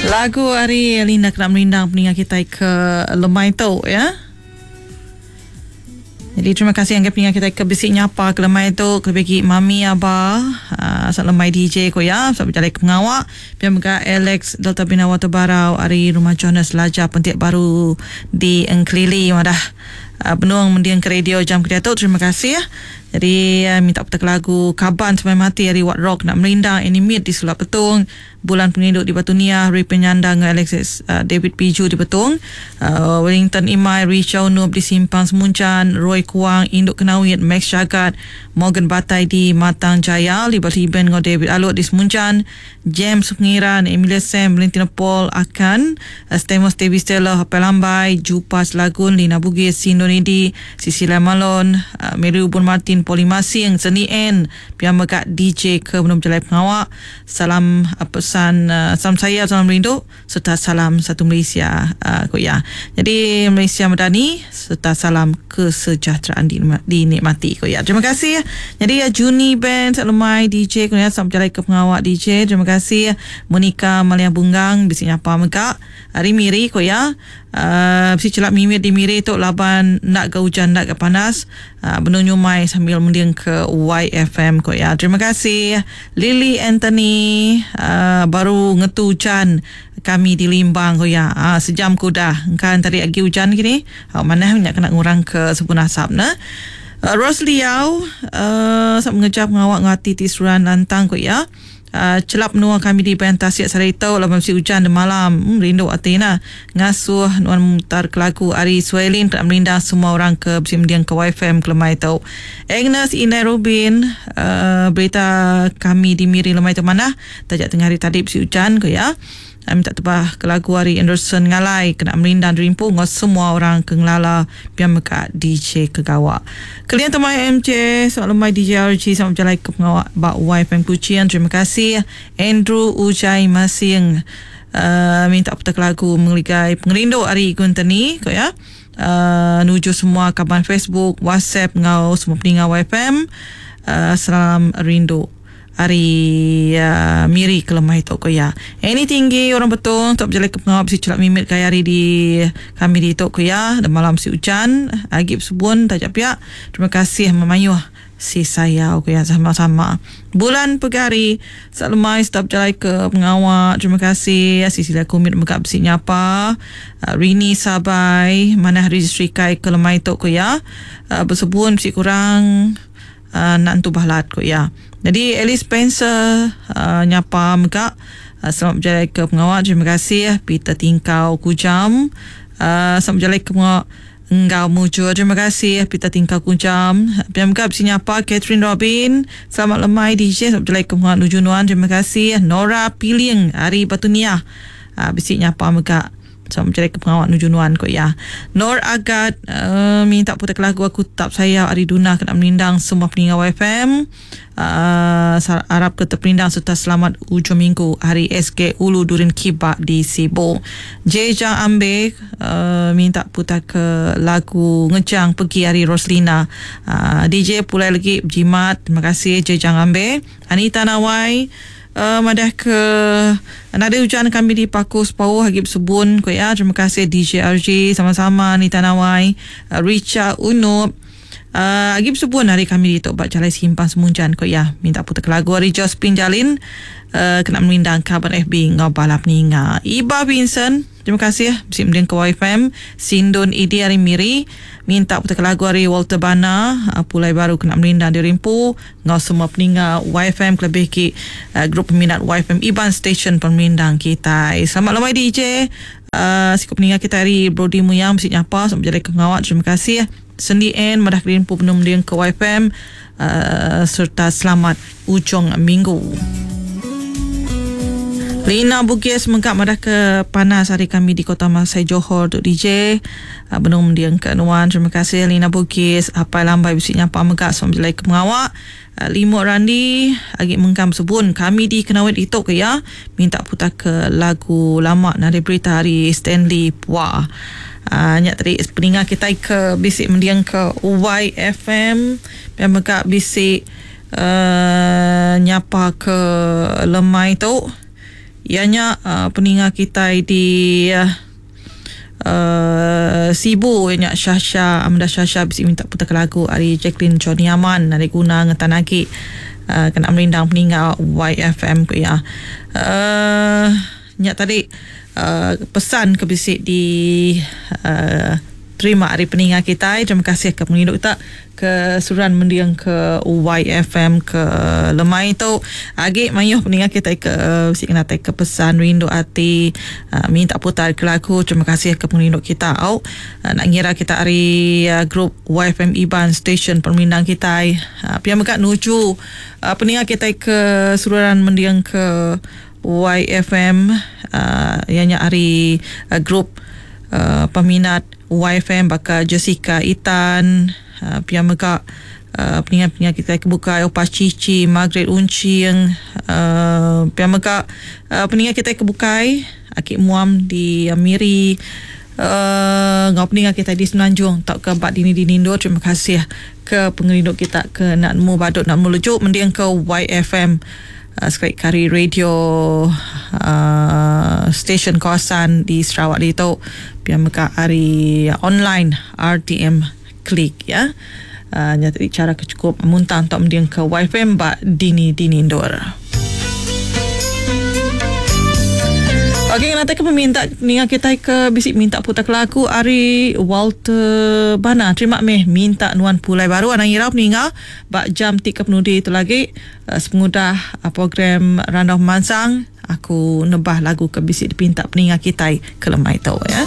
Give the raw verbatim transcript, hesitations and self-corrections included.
Lagu ari Linda kena merindang peninga kitai ke lemai tu ya. Jadi terima kasih yang peninga kitai ke bisi nyapa ke lemai tu kelebih agi Mami Aba uh, sat lemai D J ko ya sat berjalai ke pengawak. Pia mega Alex Delta Bina Water Barau ari Rumah Jonas Laja Pentik Baru di Engkelili madah uh, benung mending ke radio jam ke diatu. Terima kasih. Jadi uh, minta putar lagu Kaban Sampai Mati ari Wat Rock nak merindang Animate di Sulap Petung, Bulan Penginduk di Batu Niah, Ri Penyandang Alexis uh, David Piju di Betong, uh, Wellington Imai, Richard Noob di Simpang Semuncan, Roy Kuang, Induk Kenawit, Max Syagat, Morgan Batai di Matang Jaya, Liberty Ben ngau David Alut di Semuncan, James Pengiran, Emilia Sam, Valentina Paul Akan, uh, Stemos Davis Stella, Hapel Lambai, Jupas Lagun, Lina Bugis, Sindonidi, Sisilia Malon, uh, Mary Ubun Martin, Poli Masing, Seni N, Pia Megak D J ke Menum Jalai Pengawak. Salam uh, pesan uh, salam saya, salam rindu serta salam satu Malaysia uh, ko ya. Jadi Malaysia Madani serta salam kesejahteraan dinikmati ko ya. Terima kasih. Jadi ya Juni Band Lemai D J ko ya, salam jalai ke pengawak D J. Terima kasih Monica Malia Bunggang bisi nyapa mega hari Miri ko ya. Uh, bisi celap mimir di Miri tu laban nak ke hujan nak ke panas uh, benuh nyumai sambil mending ke Y F M ko ya. Terima kasih Lily Anthony uh, baru ngetu hujan kami di Limbang ko ya. Uh, sejam kuda kan tadi lagi hujan kini. Uh, mana nak kena ngurang ke sepun asap nah. Uh, Rose Liao uh, sap mengejar pengawak ngati ti suran lantang ko ya. Uh, celap menua kami di Bayan Tasik Sarito laban mesti hujan di malam. Hmm, rindu Athena ngasuh nuan mutar ke lagu Ari Suelin tak merindang semua orang ke besi mendiang ke Y F M ke lemai tu. Agnes Inai Rubin uh, berita kami di Miri lemai tu mana tajak tengah hari tadi besi hujan ke ya. Minta tebah ke lagu Ari Anderson Ngalai kena merindang derimpu ngau semua orang ke ngelala biar meka D J kegawak. Kalian temai M J, selamat lemai D J R G, selamat berjalan ke pengawak bak Y F M Kuching. Terima kasih Andrew Ujai Masing uh, minta putar lagu mengeligai pengerindu Ari Guntani ko ya. Uh, nuju semua kaban Facebook, WhatsApp ngau semua peninga Y F M. Uh, salam rindu hari uh, Miri ke lemah itu ko ya. Ini tinggi orang betul untuk berjalan ke pengawak besi celak mimit kaya hari di kami di itu ko ya. Dan malam si hujan agip subun tajak pihak. Terima kasih memayuh si saya ko ya sama-sama. Bulan pegari salamai stop jalan ke pengawak. Terima kasih Sisilia Kumit megap besi nyapa. Uh, Rini Sabai mana hari kai ke lemah itu ko ya. Uh, bersebun besi kurang uh, nak entu bahlat ko ya. Jadi Alice Spencer uh, nyapa mega uh, selamat berjalan ke pengawak. Terima kasih Peter Tingkau Kujam uh, selamat berjalan ke pengawak Enggau Mujur. Terima kasih Peter Tingkau Kujam. Pihak mega besi nyapa Catherine Robin, selamat lemai D J, selamat berjalan ke pengawak Nuju Nuan. Terima kasih Nora Piling Ari Batu Niah uh, besi nyapa mega selamat berjalan ke pengawak Nuju Nuan ko ya. Nor Agat uh, minta putar lagu aku tetap saya Ari Duna kena melindang semua peninga Y F M. Uh, harap ke terperindang serta selamat ujung minggu hari S K Ulu Durin Kibak di Sibu. Jejang Ambe uh, minta putar ke lagu Ngejang Pergi Hari Roslina. Uh, D J pulai lagi jimat. Terima kasih Jejang Ambe. Anita Nawai Uh, madah ke nada hujan kami di Paku Sepauh Hagib Subun ko ya. Terima kasih D J R J sama-sama Anita Nawai, uh, Richa Unup. Uh, Agib Subun hari kami di Tok Bak Jalai Simpang Semunjan ko ya. Minta putar lagu hari Jospin Jalin uh, kena melindang kabar F B ngau balap ninga. Iba Vincent, terima kasih ya. Bisi mending ke Y F M. Sindun Idi hari Miri minta putar lagu hari Walter Bana uh, pulai baru kena melindang di Rimpu ngau semua peninga Y F M kelebih ki uh, grup peminat Y F M Iban Station pemerindang kita. Selamat lemai D J. Uh, sikap peninga kita hari Brody Muyang bisi nyapa selamat berjalan ke pengawak. Terima kasih Sendi N madah kerimpu penuh mending ke Y F M uh, serta selamat ujung minggu. Lina Bugis mengkap madah ke panas hari kami di Kota Masai Johor untuk D J uh, benung mendiang ke Nuan. Terima kasih Lina Bugis. Apai lambai bisi nyapa megak selamat berjalan ke pengawak. Uh, Limut Randi agi mengkam sebun kami di Kenawit itu ke ya. Minta putar ke lagu lama nari berita hari Stanley Pua. Uh, nyak tadi peninga kita ke bisik mendiang ke Y F M yang megak bisik uh, nyapa ke lemai tu. Ianya uh, peninga kita di uh, uh, Sibu ianya Syasha Amanda Syasha bisi minta putar lagu ari Jacqueline Johnny Aman dari guna ngetan lagi uh, kena merindang peninga Y F M ku ya. Uh, nyak tadi uh, pesan ke bisi di uh, terima hari peninga kita. Terima kasih ke penginduk kita ke suran mendiang ke Y F M ke lemai tu. Agi mayuh peninga kita ke bisi kena ke pesan rindu hati uh, minta putar ke lagu. Terima kasih ke penginduk kita. Au uh, nak ngira kita hari uh, grup Y F M Iban Station permindang kita. Uh, pia mega nuju uh, peninga kita ke suran mendiang ke Y F M uh, ianya hari uh, grup uh, peminat Y F M baka Jessica Itan, uh, pia mega uh, peningat-peningat kita kebuka Opa Cici, Margaret Uncing, uh, pia mega uh, peningat kita kebukai Akik Muam di uh, Miri, uh, ngau peningat kita di Semenanjung tak ke bak dini di Nindo. Terima kasih ke pengerindu kita ke nak nemu badut nak nemu lejuk mendiang ke Y F M uh, sekali kari radio uh, stesen kawasan di Sarawak itu pia mega hari online R T M Klik ya. Uh, nyata cara kecukup muntang untuk mendiang ke Y F M bak dini dini indoor. Okey, nanti ke peminta ninga kita ke bisik minta putar kelaku ari Walter Bana. Terima meh minta nuan pulai baru anang irau peninga bak jam tiga penudi itu lagi uh, sepengudah uh, program Randau Mansang aku nebah lagu ke bisik dipinta peninga kita ke lemai tu ya.